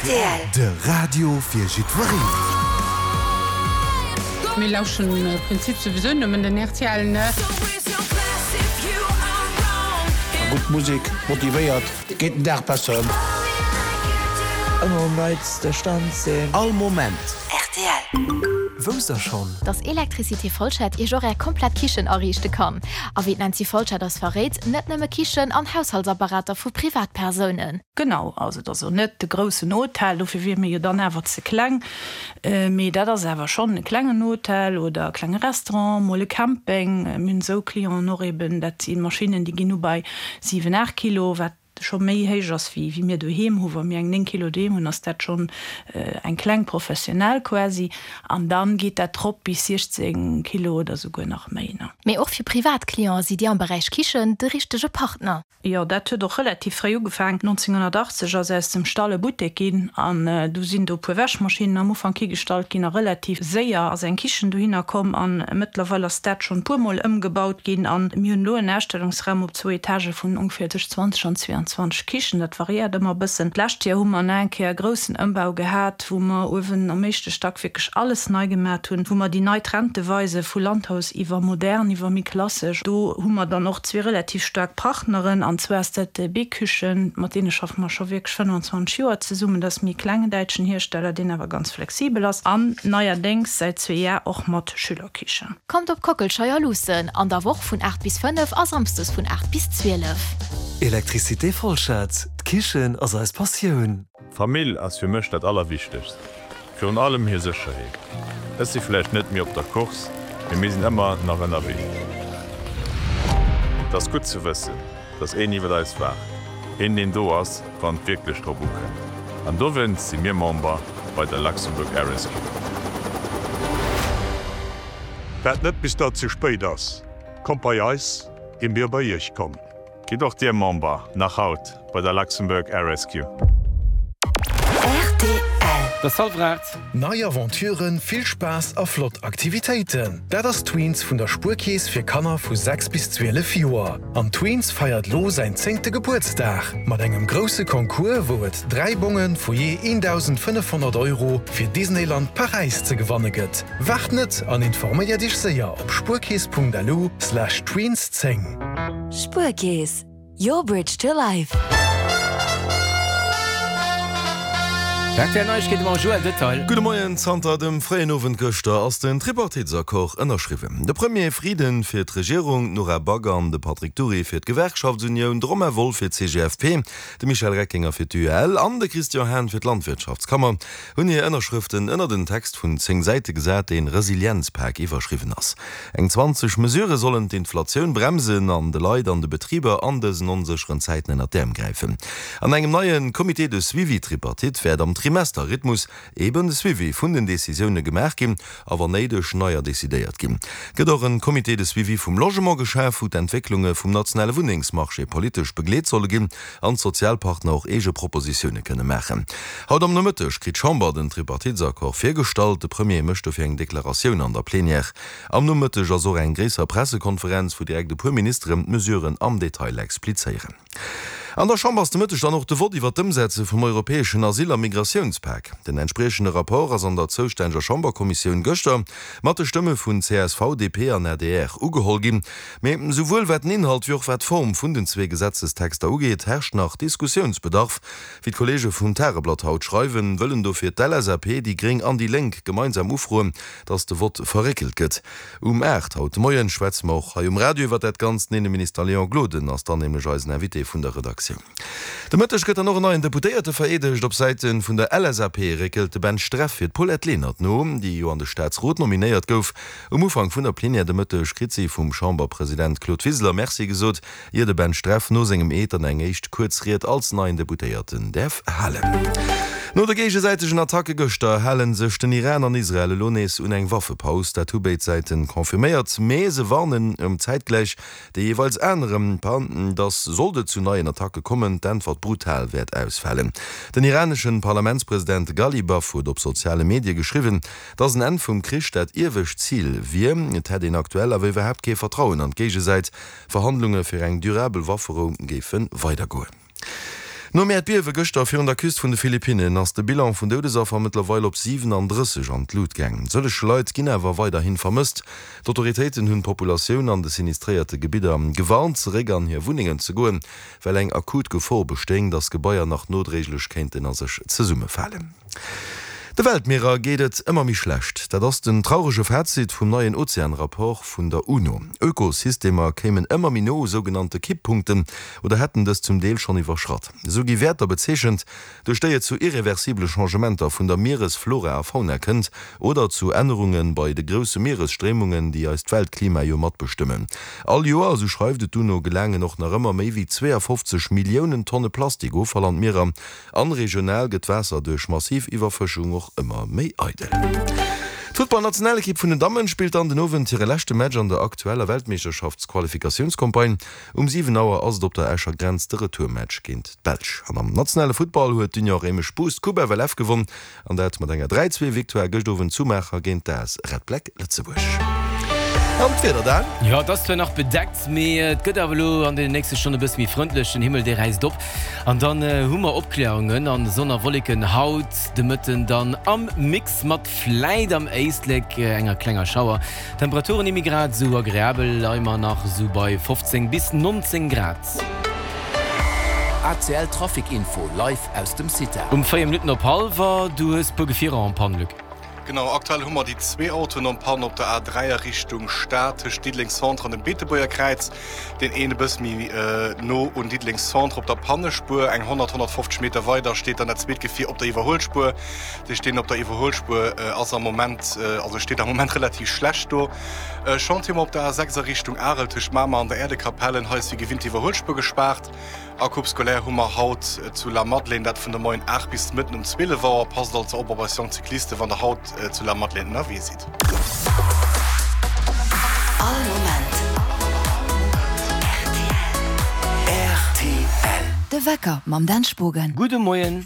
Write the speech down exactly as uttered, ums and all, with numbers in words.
Rtl. De Radio fir jiddwereen. Mir lauschteren am Prinzip souwisou nëmmen den rtl, ne? Gutt Musek motivéiert, geet den Dag besser ëm. Ëmmer um neitste Stand sinn. All Moment. Rtl. Wousst der schonn? Dass Electricité Folschette Iech och Är komplett Kichen ariichte kann. A wéi d'Nancy Folschette eis verréit, net nëmme Kichen an Haushaltsapparater vu Privatpersounen. Genau, also et ass och net de groussen Hotel, dofir wier mir jo dann awer ze kleng, mee dat ass awer schonn e klengen Hotel oder e klenge Restaurant, mol e Camping. Mir hunn esou Clienten och eben, dat si Maschinnen, déi ginn u bei siwen, aacht Kilo, wat scho méi héich ass wéi wéi mir doheem hu. Wa mir eng néng Kilo doheem hunn, ass dat schonn eng kleng professionell quasi. An dann geet dat rop bis siechzéng Kilo oder souguer nach méi. Mee och fir privat Cliente sidd Dir am Beräich Kichen de richtege Partner. Jo, dat huet och relativ fréi ugefaangen. nonzénghonnertachtzeg ass aus dem Stall e Buttek ginn an du sinn do e puer Wäschmaschinnen am Ufank higestallt ginn a relativ séier ass eng Kichen dohinner komm an mëttlerweil ass dat schonn e puer Mol ëmgebaut ginn an mir hunn elo en Ausstellungsraum op zwou Etagë vun ongeféier tëscht zwanzeg an zweiundzwanzeg Kichen. Dat variéiert ëmmer e bëssen. D'lescht Joer hu mer nach eng Kéier e groussen Ëmbau gehat, wou mer uewen am éischte Stack wierklech alles nei gemat hunn, wou mer déi nei Trente weise vu Landhaus iwwer modern, iwwer méi klassesch. Do hu mer dann och zwee relativ staark Partneren. An zwar ass dat B-Küchen, mat deene schaffe mer scho wierklech fënnwanzwanzeg Joer zesummen. Dat ass méi e klengen däitschen Hiersteller, deen awer ganz flexibel ass. An neierdéngs säit zwee Jar och mat Schülerkichen. Kommt op Kockelscheier luussen, an der Woch vun aacht bis fënnef a samsdes vun aacht bis zwielef. Electricité Folschette, d'Kichen ass eis Passioun. Famill ass fir mech dat Allerwichtegst. Virun allem hir Sécherheet. Ech si vläicht net méi op der Course, mee mir sinn ëmmer nach ënnerwee. Et ass gutt ze wëssen, dass een iwwer eis waacht. Een, deen do ass, wann et wierklech drop ukënnt. An dowéinst si mir Member bei der Luxembourg Air Rescue. Waart net bis dat ze spéit ass. Kommt bei eis, ier mir bei iech kommen. Gitt och Dir Member, nach haut, bei der Luxembourg Air Rescue. Rtl. Et ass hallwer aacht. Nei Aventuren, vill Spaass a flott Aktivitéiten, dat ass Tweens vun der Spuerkeess fir Kanner vu sechs bis zwielef Joer. An Tweens feiert lo säin zéngte Gebuertsdag mat engem grousse Concours, wou et dräi Bonge vu jee eendausendfënnefhonnert Euro fir Disneyland Paräis ze gewanne gëtt. Waart net an informéier dech séier op spuerkeess punkt lu slash tweens zéng. Spuerkeess, your bridge to life. Rtl Neiegkeete mam Joël Detail. Gudde Moien, Zanter dem fréien Owend gëschter ass den Tripartitesaccord ënnerschriwwen. De Premier Frieden fir d'Regierung, d'Nora Back an de Patrick Dury fir d'Gewerkschaftsunioun, de Romain Wolff fir d'C G F P, de Michel Reckinger fir d'U E L an de Christian Hahn fir d'Landwirtschaftskammer hunn hir Ënnerschrëften ënner den Text vun zéng Säite gesat, deen Resilienzpak iwwerschriwwen ass. Eng zwanzeg Mesurë sollen d'Inflatioun bremsen an de Leit an de Betriber an dësen onsécheren Zäiten ënner d'Äerm gräifen. An engem neie Comité de suivi tripartite wäert am Trimesterrhythmus eben de Suivi vun den Decisioune gemaach ginn a wann néideg neier decidéiert ginn. Gëtt och en Comité de suivi vum Logement geschaf, wou d'Entwécklunge vum nationale Wunnengsmarché politesch begleet solle ginn an d'Sozialpartner och eege Propositioune kënne maachen. Haut am Nomëtteg kritt d'Chamber den Tripartitesaccord virgestallt. De Premier mécht dofir eng Deklaratioun an der Plenière. Am Nomëtteg ass och eng gréisser Pressekonferenz, wou direkt e puer Ministeren d'Mesuren am Detail explizéieren. An der Chamber ass de Mëtteg dann och de Vott iwwer d'Ëmsetze vum europäeschen Asyl a Migratiounspak. Den entspriechende Rapport ass an der zoustänneger Chamberkommissioun gëschter mat de Stëmme vun C S V, D P an A D R ugeholl ginn. Mee souwuel wat den Inhalt wéi och wat d'Form vun den zwee Gesetzestexter ugeet, herrscht nach Diskussiounsbedarf. Wéi d'Kolleege vum Tageblatt haut schreiwen, wëllen dofir d'L S A P, déi Gréng an déi Lénk gemeinsam ufroen, datt de Vott verréckelt gëtt. Um aacht haut de Moien schwätze mer och hei um Radio iwwer dat Ganzt. Den Inneminister Léon Gloden ass dann nämlech eisen Invité vun der Redaktioun. De Mëtteg gëtt dann och en neien Deputéierte vereedegt. Op Säite vun der L S A P réckelt de Ben Streff fir d'Paulette Lenert no, déi jo an de Staatsrot nominéiert gouf. Um Ufank vun der Plenière de Mëtteg kritt si vum Chamberpresident Claude Wiseler Merci gesot, ier de Ben Streff no sengem Eed dann eng éischt kuerz Ried als neien Deputéierten däerf halen. No de géigesäitegen Attacke gëschter hale sech den Iran an Israel elo nees un eng Waffepaus. Dat hu béid Säite confirméiert, mee se warnen ëm zäitgläich déi jeeweils aner, datt sollt et zu neien Attacke kommen, d'Äntwert brutal wäert ausfalen. Den iranesche Parlamentspresident Ghalibaf huet op soziale Medie geschriwwen, datt en Enn vum Krich dat iewescht Zil wier. Et hätt een aktuell awer iwwerhaapt kee Vertrauen an d'Géigesäit. Verhandlunge fir eng durabel Wafferou géife weidergoen. Nom Äerdbiewe gëschter virun der Küst vun de Philippinnen ass de Bilan vun Doudesaffer mëttlerweil op siwenandrësseg an d'Lut gaang. Sëllege Leit ginn awer weiderhi vermësst. D'Autoritéiten hunn d'Populatioun an de sinistréierte Gebidder gewarnt, zeréck an hir Wunnengen ze goen, well eng akut Gefor bestéing, datt Gebaier nach nodréiglech kéinten a sech zesummefalen. De Weltmierer geet et ëmmer méi schlecht. Dat ass den traurege Fazit vum neien Ozean-Rapport vun der UNO. Ökosystemer kéimen ëmmer méi no u sougenannte Kipppunkten oder hätten dës zum Deel schonn iwwerschratt. Esou gi Wäerter bezeechent, duerch déi et zu irreversibele Changementer vun der Mieresflora a fauna kënnt oder zu Ännerunge bei de grousse Mieresstréimungen, déi eist Weltklima jo matbestëmmen. All Joer, esou schreift et d'UNO, gelaangen och nach ëmmer méi wéi zweeafofzeg Milliounen Tonne Plastikoffall an d'Mierer an regional gëtt d'Waasser duerch massiv Iwwerfëschung och ëmmer méi eidel. D'Futtballnationalekipp vun den Dammen spillt dann den Owend hire leschte Match an der aktueller Weltmeeschterschaftsqualifikatiounscampagne. Um siwen Auer ass et op der Escher Grenz de Retourmatch géint d'Belsch. An am nationale Futtball huet d'Union Réimech Boost d'Coupe F L F gewonn an dat mat enger dräi zwee Victoire gëscht Owend zu Maacher géint d'A S Red Black Lëtzebuerg. An d'Wieder dann? Jo, et ass zwar nach bedeckt, mee et gëtt awer elo an den nächste Stonne e bësse méi frëndlech. Den Himmel, dee räisst op an dann hu mer Opkläerungen an Sonn a Wolleken haut de Mëtten dann am Mix mat vläit am Éislek enger klenger Schauer. D'Temperaturen ni méi grad esou agreabel, leie mer nach esou bei fofzéng bis nonzéng Grad. A C L Trafic Info live aus dem CITA. Um véier Minutten op hallwer, du hues puer Gefierer en panne, Luc. Genau, aktuell hu mer déi zwee Autoen en panne op der A dräi a Richtung Stad tëscht Diddeleng Centre an dem Beetebuerger Kräiz. Deen een e bësse méi no un Diddeleng Centre op der Pannespuer, eng honnert, honnertfofzeg Meter weider steet dann dat zweet Gefier op der Iwwerhuelspuer. Dat heescht, deen op der Iwwerhuelspuer ass am Moment, also steet am Moment relativ schlecht do. Chantier hu mer op der A sechs a Richtung Arel tëscht Mamer an der Äerdekapellen. Hei ass wéi gewinnt d'Iwwerhuelspuer gespaart. A Coupe scolaire hu mer haut zu Lamadelaine, dat vun de Moien aacht bis de Mëtten um zwielef Auer. Passt also op op eis jonk Cyclisten, wann der haut zu Lamadelaine ënnerwee sidd. All Moment rtl. De Wecker mam Dan Spogen. Gudde Moien.